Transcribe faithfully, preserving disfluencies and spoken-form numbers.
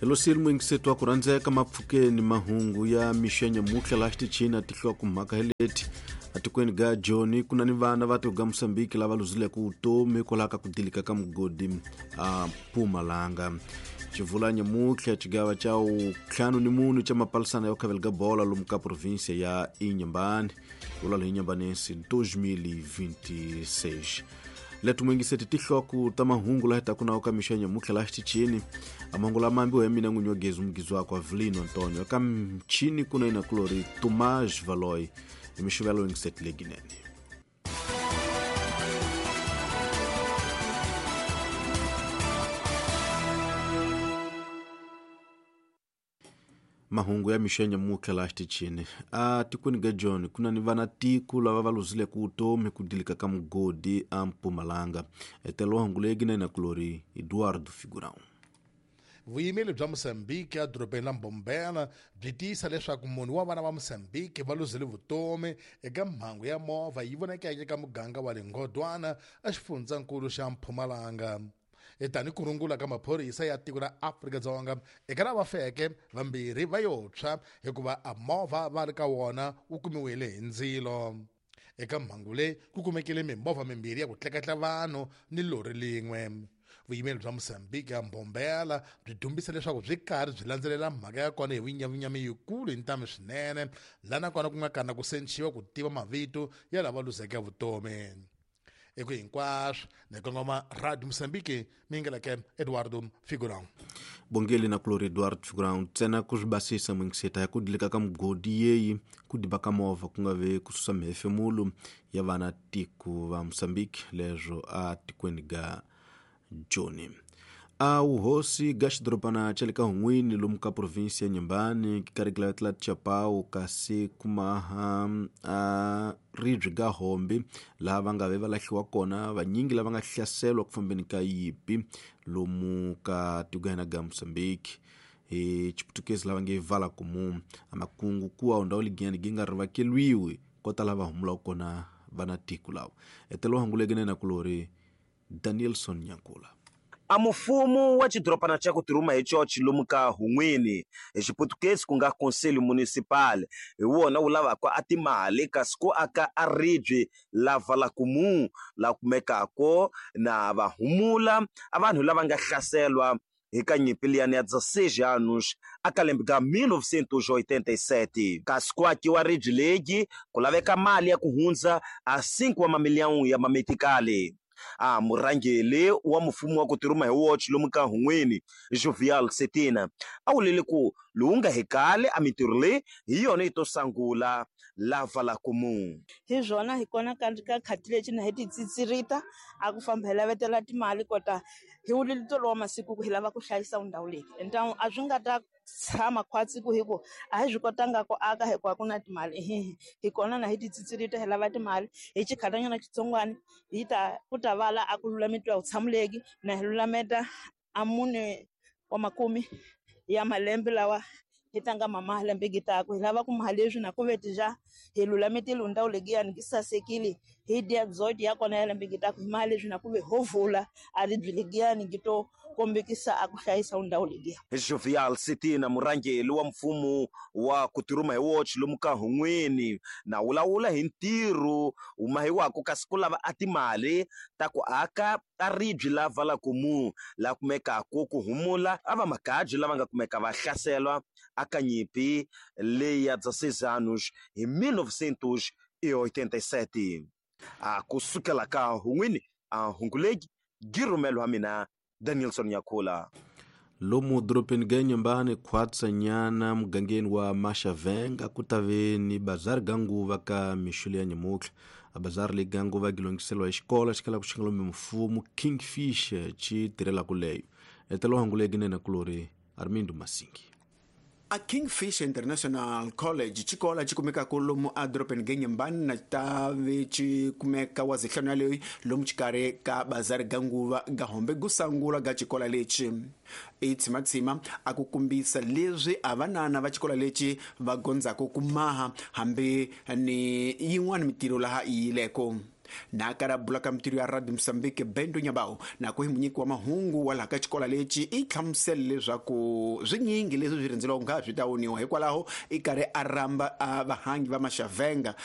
Hello mwingisetu wa kurhandzeka mapfukeni mahungu ya mixo nyamuhla laha xitichini tihloko mhaka hi leti atikweni ga Joni kuna ni vana va tiko ga Mozambique lava luzileke vutomi hikwalaho ka ku dilika ka mugodi a Mpumalanga. Xivula nyamuhla xigava xa ntlhanu ni mune xa mapalisana ya khavela ga bola lomu ka província ya Inhambane vulalo Inhambanense dois mil e vinte e seis. Letu mwingiseti tihloko ta mahungu laha ta kuna ka mixo nyamuhla laha xitichini amahungu lama ambiwa hi mina n'winyi wa gezi mugizi wakwe Avelino Antonio ka mchini kuna ina kulori Tomás Valoy hi mixivelo wingiseti leginene. Mahungu ya mixo nyamuhla laha xitichini a tikweni ga Joni kuna ni vana tiko lava va luzileke vutomi ku dilika ka mugodi a Mpumalanga. Etelo hungu leyi na kulori Eduardo Figurão. Vuyimeli bya Mozambique edorobeni la Mbombela byi tiyisa leswaku munhu wa vana va Mozambique va luzile vutomi eka mhangu ya movha yi vonakeke eka muganga wa le Ngodwana exifundzankulu xa Mpumalanga. Tani ku rungula ka maphorisa ya tiko ra Afrika-Dzonga eka lava feke vambirhi va yo tshwa hikuva a movha va ri ka wona wu kumiwile hi ndzilo. Eka mhangu leyi ku kumekile mimovha mimbirhi ya ku tleketla vanhu ni lori lin'we. Vuyimeli bya Mozambique ya Mbombela byi dumbisa leswaku byi karhi byi landzelela mhaka ya kona hi vunyavunyami yikulu hi ntamu swinene laha nakona ku nga kana ku senciwa ku tiva mavito ya lava luzeke vutomi. Eku hinkwaswo ni kongoma Radio Mozambique mingeleke Eduardo Figurão. Bongeli na kulori Eduardo Figurão ntsena ku swi basisa mwingiseta ya ku dilika ka mugodi yeyi ku diba ka movha ku nga ve ku susa mihefemulo ya vana tiko va Mozambique leswo a tikweni ga Joni. A wuhosi ga xidorobana xa le ka Hun'wini lomu ka província ya Inhambane ki karhi Chapau kasi kumaha a ribye ga Hombe laha va nga ve va lahliwa kona vanyingi lava nga hlaseriwa ku fambeni ka yipi lomu ka tiko ya ga Mozambique hi Xiputukezi lava nge vala kumu a makungu kuwa ndhawu ligiyani gi nga rivakeliwi ko tala va humulaka kona vana tiko lava. Etelo hanguleke na kulori Danielson Nyankula. A mufumo wa xidorobana xa ku tirhuma hi chochi lomu ka Hun'wini hi Xiputukezi ku nga Conselho Municipal hi wona wu lavaka a timali kasi ku aka a ribye la Valakumu la kumekako na va humula a vanhu lava nga hlaselwa hi ka nyimpi liyani ya dezesseis anos a ka lembe ka mil novecentos e oitenta e sete. Kasi ku akiwa ribye legi ku laveka mali ya ku hundza a cinco wa mamilhão ya mametikali. A murhangeri wa mfumo wa ku tirhuma hi woxe lomu ka Hun'wini Jovial Setina a wulile ku lowu nga hekali a mintirho leyi hi yona yi to sungula la Valakumu. Hi swona hi kona ka ka khati lexi na hi ti tsitsirita a ku famba hi lavetela timali kota hi wulile tolo wa masiku ku hi lava ku hlayisa ndhawu leyi ntamu a swi nga ta tshama khwatsi ku hi ku a hi swi kotanga ku aka hikuva ku na timali hi hi kona na hi ti tsitsirita hi lava timali hi xikhatanyana xitsongwana hi ta ku ta vala a ku lulametiwa vutshamuleki na hi lulameta a mune wa makumi ya malembe lawa hi tlanga mama lembe gitaku hi lava ku maha leswi na ku vetija hi lulametile ndhawu legiyani gi sasekile hi dya dzodi ya kona ya lembe gitaku hi maha leswi na ku ve ho vula a ribye legiyani gi to kombekisa a ku hlayisa ndhawu legiya. Jovial Setina murhangeri wa mfumo wa ku tirhuma hi woxe lomu ka Hun'wini na wulawula hi ntirho wu mahiwaka kasi ku lava a timali ta ku aka a ribye la Valakumu la kumekaka ku humula a va makabyi lava nga kumeka va hlaselwa aka nyimpi leyi ya dezesseis anos hi mil novecentos e oitenta e sete. A kusukela ka Hun'wini a hunguleki gi rhumelo wa mina Danielson Nyankula. Lomu dorobeni ga Inhambane khwatsanyana mugangeni wa Maxavenga ku ta ve ni bazari ga nguva ka mixo ya nyamuhla. A bazari leyi ga nguva gi longhiseriwa hi xikolo xi kalaka xi nga lomu mfumo Kingfish xi tirhelaka leyo. Etelo hanguleki nene kulori Armindo Masingi. A Kingfish International College xikolo xi kumekaka lomu edorobeni ga Inhambane na ta ve xi kumeka wa zihlanu yaleyo lomu xikarhi ka bazari ga nguva ga Hombe ku sungula ga xikolo lexi i tshimatsima a ku kombisa leswi a vanana va xikolo lexi va gondzaka ku maha hambi ni yin'wana mitirho laha yi yileko. Na kara bula ka mutiri ya Radio Mozambique Bendo Nyabao na ku hi munyiki wa mahungu wa laha ka xikola lexi i hlamusele leswaku swinyingi leswi swi rhendzeliwaka nga swi ta woniwa, hikwalaho i karhi a rhamba a vahangi va Maxavenga.